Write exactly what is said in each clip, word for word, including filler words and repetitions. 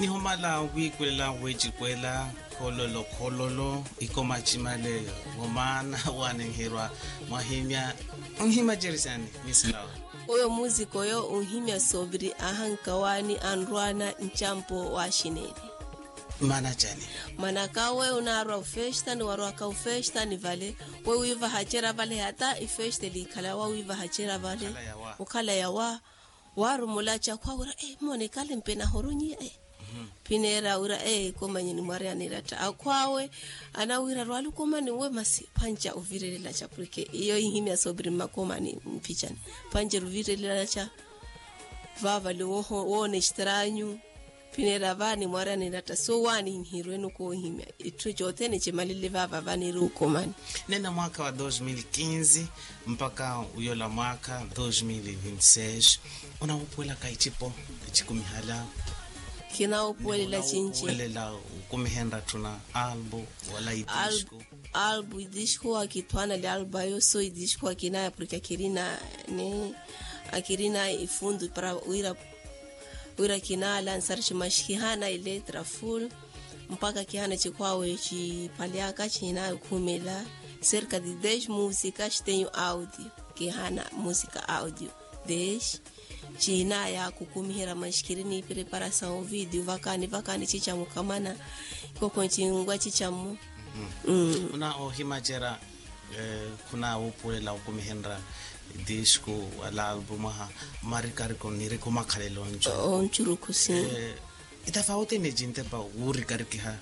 Nihomala wiikwelela weecikwela khololo khololo ikoma cimale. Womaana waanenherwa mwahimya. Nhimya jerisani mislawa. Oyo muzika oyo unhimya sooviri ahankawaani anrwaana ncampo waaxineeli. Maana cani? Maanaka we unaarwa ufesta ni warwaka ufesta ni vale, we wiivaha cera vale hata ifesta eliikhala yawa wiivaha cera vale. Okhala yawa. Waarumula ca khwawira e moone kale mpe nahorunyiya e. Phineera wira e komanye nimwaryanira tta akhwaawe. Anawira rwaali okomani nwe masi phanca ovirelela ca porke iyo ihimya sooviri mmakomani. Mphicani phanca ruvirelela ca vaavale woona extraanyu. Phineera vaani mwaryanira tta so waani nhirwenu koohimya itthu cothene cimalele vaava vaaniiri okomani. Nena mwaakha wa dos mil quinze mpakha uyola mwaakha dos mil vinti seis. Onawuupuwelaka icipo ecikumihala? Kinawuupuwelela cinci. Onawuupuwelela okumihenra tthuna albu wala idisku? Albu idisku akithwaana li albu ayo so idisku akinaya porke akirina ni akirina ifundu para wira wira kinaala nsari cimaxi kihaana iletra full. Mpakha kihaana cikhwaawe ciphalyaka cihinaya okhumela cerca de dez música citenho audio. Kihaana música audio dez cihinaya khukumiherya maxi khiri ni preparação video vakaani vakaani cicamu khamana. Khokho ncinngwa cicamu. Khuna ohimacerya khunawuupuwelela okumihenrya disku wala albu mwaha marikariko niriku makhalelo oncu oncurukhu si. Itafauti ni cintepa wuurikarikiha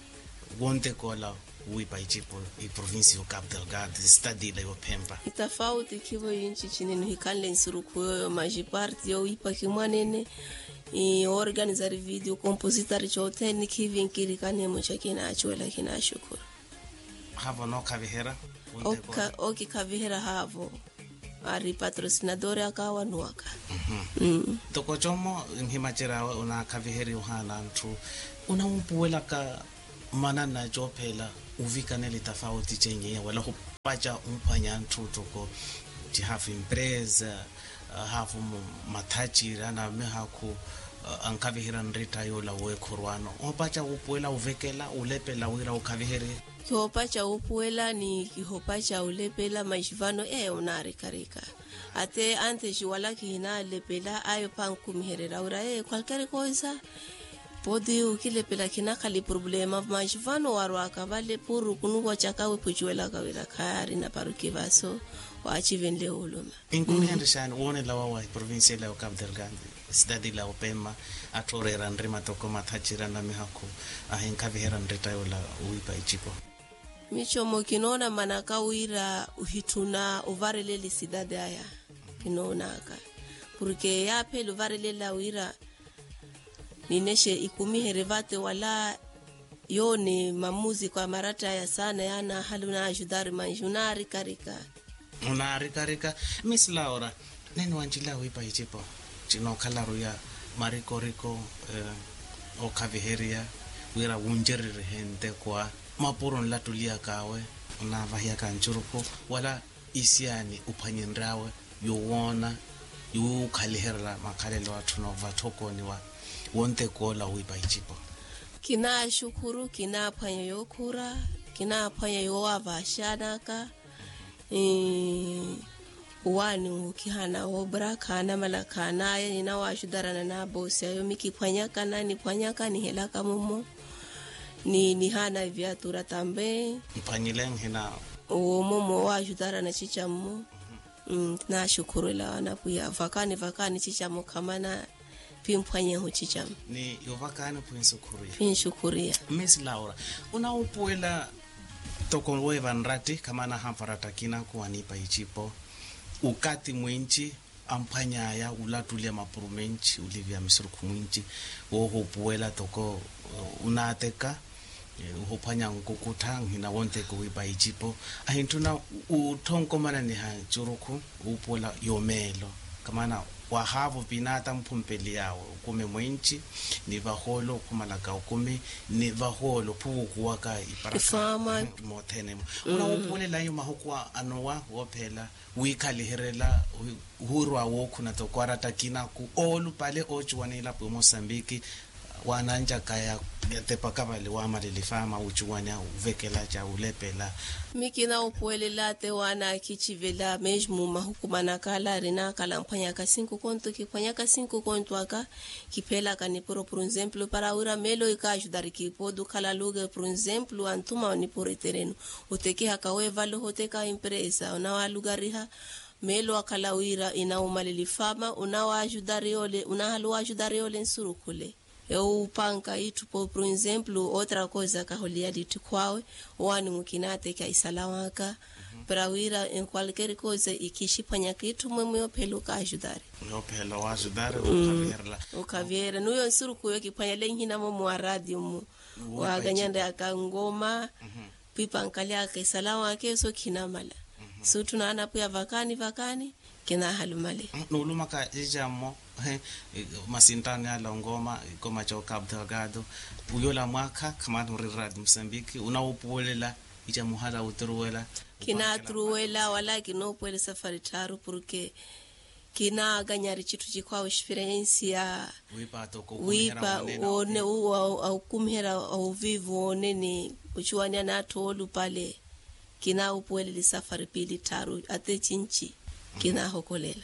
wontekoola wiipa icipo iprovincia yo capital gard sitadila yophempa. Itafauti khivo yinci cinene ohikhanle nsurukhu yoyo maxi parti yowiipa khimwanene. Oorganizari video compositari cothene khivinkirikani emoca kinacuwela kinaxukhuru. Haavo nookhaviherya? Okikhaviherya haavo. Ari patrocinadori aka wanuwaka. Ntoko como nhimaceryawe onaakhaviherya ohaana antthu onawuupuwelaka manana coophela ovikanela itafauti cenyiya wala ohupaca omphwanya antthu ntoko ti hafu empresa hafu mathacira na mihakhu ankhaviherya nritta yoola weekhorwaano ohopaca wuupuwela ovekela olepela wira okhaviherye. Kihoopaca wuupuwela ni kihoopaca olepela maxi vano eyo onaarikarika. Ate anthexi wala kihinalepela ayo phankumihererya wira eyo qualquer coisa. Podi okilepela khinakhala iproblema maxi vano warwaka vale puru khunuwacaka wiphucuwelaka wira khayaari naparuki vaso. Waacivenle oluma. Inkumihenrya xaani woonela wawa eprovincia ila ya ocapo delgado sitati ila ya opema atthu ooreera nrima toko mathacira na mihakhu ahinkhaviherya nritta yoola owiipa icipo. Micomo kinoona manaka wira ohitthuna ovarelela esitati aya. Kinoonaka porke yaaphela ovarelela wira ninexe ikumiherye vate wala yoone mamuziko a maratta aya saana yaanaahala onaajutari manji onaarikarika. Onaarikarika. Miss laura, nene wancila wiipa icipo cinookhalaru ya marikoriko ookhaviherya wira wuncererihe nteko a mapuro onlattuliyaka awe onaavahiyaka ncurukhu wala isiyaani ophwanyenry'awe yowoona yowiikhaliherela makhalelo atthu noova tthokoni wa wontekoola owiipa icipo. Kinaaxukhuru kinaaphwanya yookhura kinaaphwanya yoowavaxanaka. Owaani okhihana oobra khaanamala khaanaya ninawaaxutarana n'aboosi ayo mikiphwanyaka na niphwanyaka nihelaka mumo. Ni nihaana eviatura tambe. Mphwanyile nhina. Owo mumo owaaxutarana cica mmo. Naaxukhurwela anapwiya vakaani vakaani cica mmo khamana. Phimphwanyeho cica mmo. Ni yovakaani phwinsukhuriya. Phwinsukhuriya. Miss laura, onawuupuwela toko weeva nratti khamana ahampara ttakina khuwaniipa icipo okathi mwinci amphwany'aya olattuliya mapuro menci oliviya misurukhu mwinci woohuupuwela toko onaateka ohuphwanya nkukuttha nhina wonteka owiipa icipo ahintthuna otthonkomananiha ncurukhu. Wuupuwela yomeelo khamana wahaavo pinaata mphumpeli yaawe okumi mwinci ni vahoolo okhumalaka okumi ni vahoolo ophuvukuwaka iparaka. Mothene-mo onawuupuwelela iyo mahuku anowa woophela wiikhaliherela. Ohurwa wookhuna toko aratta kinaku oolupale oocuwa n'ilapo ya mosambiki. Waananjaka ya yatepaka vale waamalelifa ama wucuwanya wuvekelaca wulepela. Mikina wupuwelela te waana akicivela mesmo mahukumanaka ala arinakala mphwanyaka cinco conto kiphwanyaka cinco conto aka. Kiphelaka nipuro por exemplo para wira melo ikaajudari kipodu khala luge por exemplo antuma nipuro itereno. Utekihaka wevalo hoteka empresa unawalugariha. Melo akhala wira inawumalelifa ama unawaajudari ole unahaluwaajudari ole nsurukhule. Ewo wupanka itthu por exemplo otra koza kahuliya litthu khwawe. Owaani mukina atekya isalawaka para wira enqualquer koza ikixiphwanyaka itthu mwe mwe ophela okaajudari. Ophela okaajudari. Okhaviherela. Okhaviherela nuyo nsuruku yo kiphwanyale nhina mwe mwa radio mwe. Wakanyanreyaka ngoma. Pipankalyaka isalawaka eso khinamala. Suttu naanapwiya vakani vakani. Kinahalumale. Nuulumaka icammo. Masinttani ala ongoma ikoma ca okabdagado. Uyola mwaakha khamani ori radio musambiki unawupuwelela. Ica muhala wuturuwela. Kinaaturuwela wala kinoopuwela safari tthaaru porke kinaakanyari citthu cikhwawe xiferensiya. Wiipa. Awukumiherya awuviivi woonene. Ocuwanya n'atthu oolupale. Kinaawupuwelela esafari piili tthaaru ata ecinci. Kinaahokolela.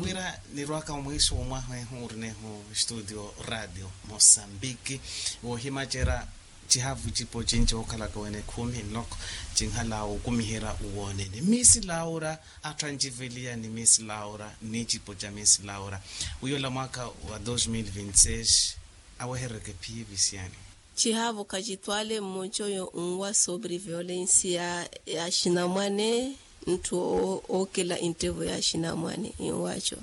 Wira nirwaka omwiiso womwaha ehu urinehu studio radio mosambiki. Woohimacerya cihavu cipo cinci wookhalaka wene ekhumi nloko. Cinhala wukumiherya uwoonene miisi laura. Atthu anjiveliya ni miisi laura ni cipo ca miisi laura. Wiyola mwaakha wa dos mil vinti seis aweherereke phi visiyani. Cihaavo khacitwale mmoca oyo nwa sobre violensi ya axinamwane. Ntthu ookela enttevo ya axinamwane enwaco.